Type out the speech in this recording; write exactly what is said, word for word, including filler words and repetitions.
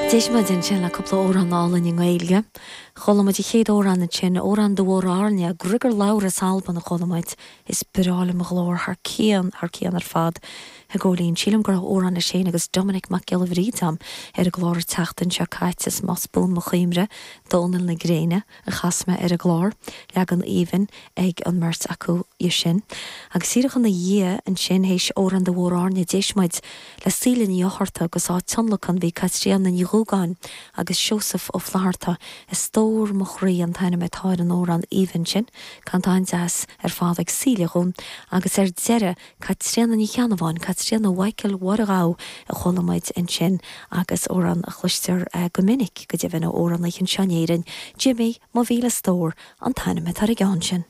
D'éist muid ansin le cúpla amhrán álainn i nGaeilge. Chuala muid an chéad amhrán ansin amhrán de Mhór Airne, Griogair Labhruidh as Albain a chuala muid is breá liom a ghlór thar cionn thar cionn ar fad. A Ghóilín sílim go raibh amhrán leis féin agus Dominic Mac Giolla Bhríde agam ar an gclár an tseachtain seo caite is más buan mo chuimhne Dónal na Gréine a chas mé ar an gclár leagan aoibhinn ag an mbeirt acu é sin. Agus díreach ina dhiaidh ansin théis amhrán de Mhór Airne d'éist muid le Síle Ní Fhátharta agus á tionlacan bhí Caitríona Ní Dhúgáin agus Seosamh Ó Flatharta a stór mo chroí an t-ainm atá ar an amhrán aoibhinn sin, canta an-deas ar fad ag Síle dhún, agus ar deireadh Caitríona Ní Cheannabháin, Caitríona Mhichael Mhurchú a chuala muid ansin agus amhrán a chloistear eh, go minic go deimhin ó amhránaithe anseo in Éirinn, Jimmy mo mhíle stór an t-ainm atá ar an gceann sin.